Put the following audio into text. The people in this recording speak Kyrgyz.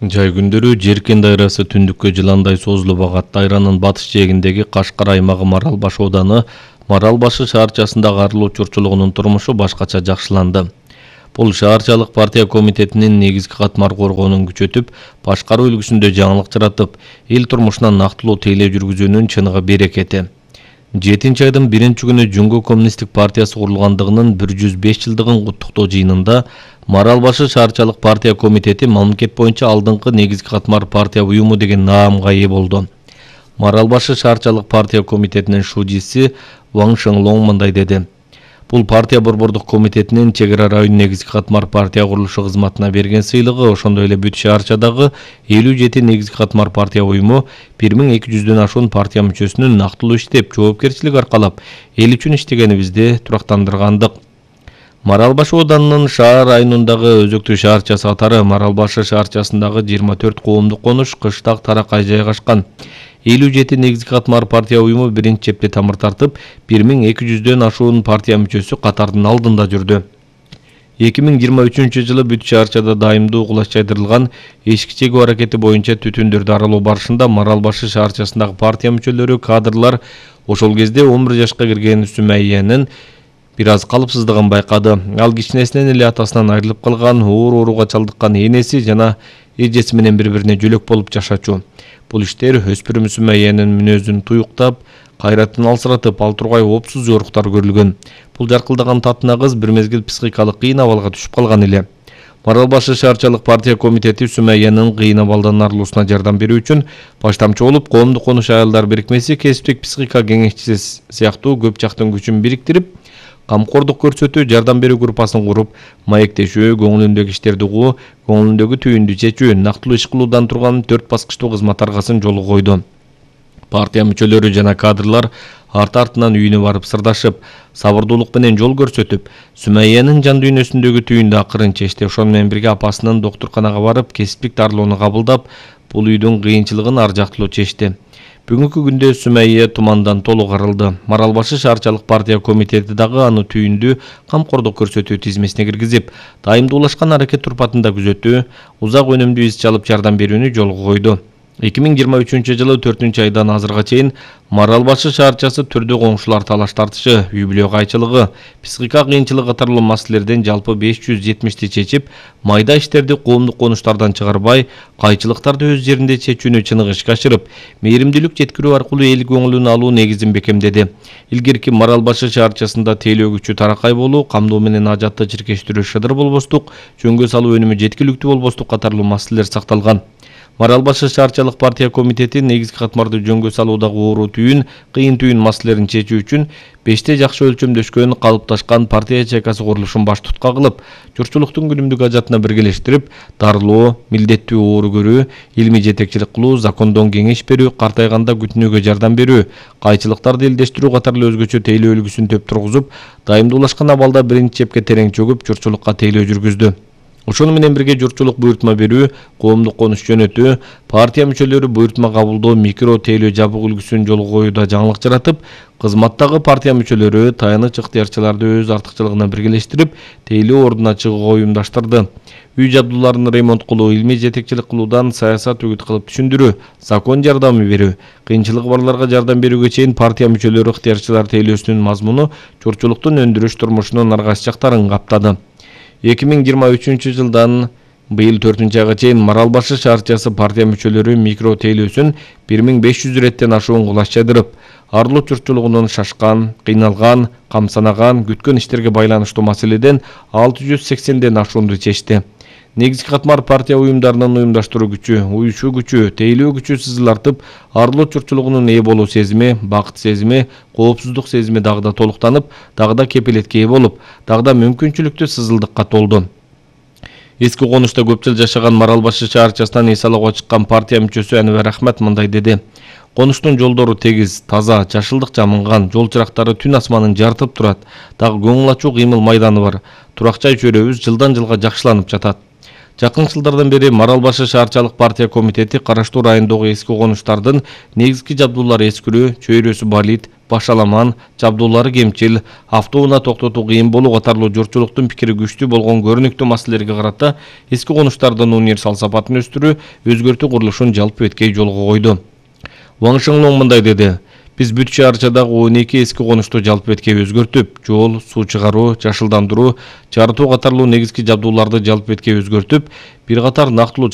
Жай күндөрү Жеркен дайрасы түндүккө жыландай созулуп агат. Дайранын батыш жээгиндеги Кашкар аймагы Маралбаш ооданы Маралбашы шаарчасындагы арылуу чурчулугунун турмушу башкача жакшыланды. Бул шаарчалык партия комитетинин негизги катмар коргоонун күчөтүп, башкаруу үлгүсүндө жаңылык жаратып, эл турмушуна нактылуу тейлөө жүргүзүүнүн чыныгы берекети. 7-айдын 1-күнү Жөнгө коммунисттик партиясы курулгандыгынын 105 жылдыгын куттуктоо жыйынында Маралбашы шаарчалык партия комитети мамлекет боюнча алдыңкы негизги катмар партия уюму деген наамга ээ болду. Маралбашы шаарчалык партия комитетинин шужиси Ван Шенлоң мындай деди: Бул партия борбордук комитетинин чек ара район негизги катмар партия курулушу кызматына берген сыйлыгы, ошондой эле бүт шаарчадагы 57 негизги катмар партия уюму 1200дөн ашуун партия мүчөсүнүн нактылуу иштеп, жоопкерчилик аркалап, эл үчүн иштегенибизди турактандыргандык. Маралбаш оодарынын шаар районундагы өзөктүү шаарчасы катары Маралбашы шаарчасындагы 24 коомдук конуш кыштак таракай жайгашкан. 57 негизги катмар партия уюму биринчи чепте тамыр тартып, 1200дөн ашуун партия мүчөсү катардын алдында жүрдү. 2023-жылы бүт шаарчада дайымдуу кулач жайдырылган эшик чегүү аракети боюнча түтүндөрдү аралоо барышында Маралбашы шаарчасындагы партия мүчөлөрү, кадрлар ошол кезде 11 жашка кирген Сүмайянын бир аз калыпсыздыгын байкады. Ал кичинесинен эле атасынан айрылып калган, ооруга чалдыккан энеси жана эжеси менен бири-бирине жөлөк болуп жашачу. Бул иштер өспүрүм Сүмайянын мүнөзүн туюктап, кайратын алсыратып, ал тургай опсуз жоруктар көрүлгөн. Бул жаркылдаган татына кыз бир мезгил психикалык кыйын абалга түшүп калган эле. Маралбашы шаарчалык партия комитети Сүмайянын кыйын абалдан арылуусуна жардам берүү үчүн баштамчы болуп, коомдук конуш аялдар бирикмеси, кесиптик психика кеңешчиси сыяктуу көп жактын күчүн бириктирип, камкордук көрсөтүү, жардам берүү группасын куруп, маектешүү, көңүлүндөгү иштерди угуу, көңүлүндөгү түйүндү чечүү, нактылуу иш кылуудан турган 4 баскычтуу кызмат аргасын жолго койду. Партия мүчөлөрү жана кадрлар арты-артынан үйүнө барып сырдашып, сабырдуулук менен жол көрсөтүп, Сүмайянын жан дүйнөсүндөгү түйүндү акырын чечти. Ошону менен бирге апасынын доктурканага барып, кесиптик дарылоону кабылдап, бул үйдүн кыйынчылыгын ар жактылуу чечти. Бүгүнкү күндө Сүмайя тумандан толук арылды. Маралбашы шаарчалык партия комитети дагы аны түйүндү камкордук көрсөтүү тизмесине киргизип, дайымдуулашкан аракет турпатында күзөтүү, узак өнүмдүү иш чалып жардам берүүнү жолго койду. 2023-жылы 4-айдан азырга чейин Маралбашы шаарчасы түрдүү коңшулар талаш тартышы, үй-бүлө кайчылыгы, психика кыйынчылыгы катарлуу маселелерден жалпы 570ти чечип, майда иштерди коомдук конуштардан чыгарбай, кайчылыктарды өз жеринде чечүүнү чыныгы ишке ашырып, мээримдүүлүк жеткирүү аркылуу эл көңүлүн алуу негизин бекемдеди. Илгерки Маралбашы шаарчасында тейлөө күчү таракай болуу, камдоо менен ажатты чиркештирүү шыдыр болбостук, жөнгө салуу өнүмү жеткиликтүү болбостук катарлуу маселелер сакталган. Маралбашы шаарчалык партия комитети негизги катмарды жөнгө салуудагы оору түйүн, кыйын түйүн маселелерин чечүү үчүн 5те жакшы өлчөмдөшкөн, калыпташкан партия ячейкасы курулушун баш tutка кылып, журтчулуктун күнүмдүк ажатына биргелештирип, дарылоо, милдеттүү оору көрүү, илмий жетекчилик кылуу, закондон кеңеш берүү, картайганда күтүнүүгө жардам берүү, кайчылыктарды элдештирүү катарлуу өзгөчө тейлөө үлгүсүн төп тургузуп, дайымдуулашкан абалда биринчи чепке терең чөгүп, журтчулукка тейлөө жүргүздү. Ошону менен бирге журтчулук буйртма берүү, коомдук конуш жөнөтүү, партия мүчөлөрү буйртма кабылдоо, микро тейлөө жабык үлгүсүн жолго коюуда жаңылык жаратып, кызматтагы партия мүчөлөрү таяныч ыктыярчыларды өз артыкчылыгына биргелештирип, тейлөө ордуна чыгууга уюмдаштырды. Үй жабдууларын ремонт кылуу, илмий жетекчилик кылуудан саясат үгүт кылып түшүндүрүү, закон жардамы берүү, кыйынчылыгы барларга жардам берүүгө чейин партия мүчөлөрү ыктыярчылар тейлөөсүнүн мазмуну журтчулуктун өндүрүш турмушунун аргасыз жактарын каптады. 2023-жылдан быйыл 4-айга чейин Маралбашы шаарчасы партия мүчөлөрү микро тейлөөсүн 1500 реттен ашуун кулач жайдырып, арылуу журтчулугунун шашкан, кыйналган, камсанаган, күткөн иштерге байланыштуу маселеден 680ден ашуунду чечти. Негизги катмар партия уюмдарынын уюмдаштыруу күчү, уюшуу күчү, тейлөө күчү сызылартып, арылуу журтчулугунун ээ болуу сезими, бакыт сезими, коопсуздук сезими дагы да толуктанып, дагы да кепилетке ээ болуп, дагы да мүмкүнчүлүктүү сызылдыкка толду. Эски конушта көп жыл жашаган Маралбашы шаарчасынан эс алууга чыккан партия мүчөсү Анвар Ахмат мындай деди: Конуштун жолдору тегиз, таза, жашылдык жамынган, жол чырактары түн асманын жарытып турат, дагы көңүл ачуу кыймыл майданы бар. Турак жай чөйрөбүз жылдан жылга жакшыланып жатат. Жакын жылдардан бери Марал Башы шаарчалык партия комитети караштуу райондогу эски конуштардын негизги жабдуулары эскирүү, чөйрөсү балит, башаламан, жабдуулары кемчил, автоунаа токтотуу кыйын болуу катарлуу журтчулуктун пикири күчтүү болгон көрүнүктүү маселелерге карата эски конуштардын универсал сапатын өстүрүү, өзгөртүү курулушун жалпы эткей жолго койду. Ваң Шыңлоң мындай деди: Биз бүт шаарчадагы 12 эски конушту жалпы эткей өзгөртүп, жол, суу чыгаруу, жашылдандыруу, жарытуу катарлуу негизги жабдууларды жалпы эткей өзгөртүп, бир катар нактылуу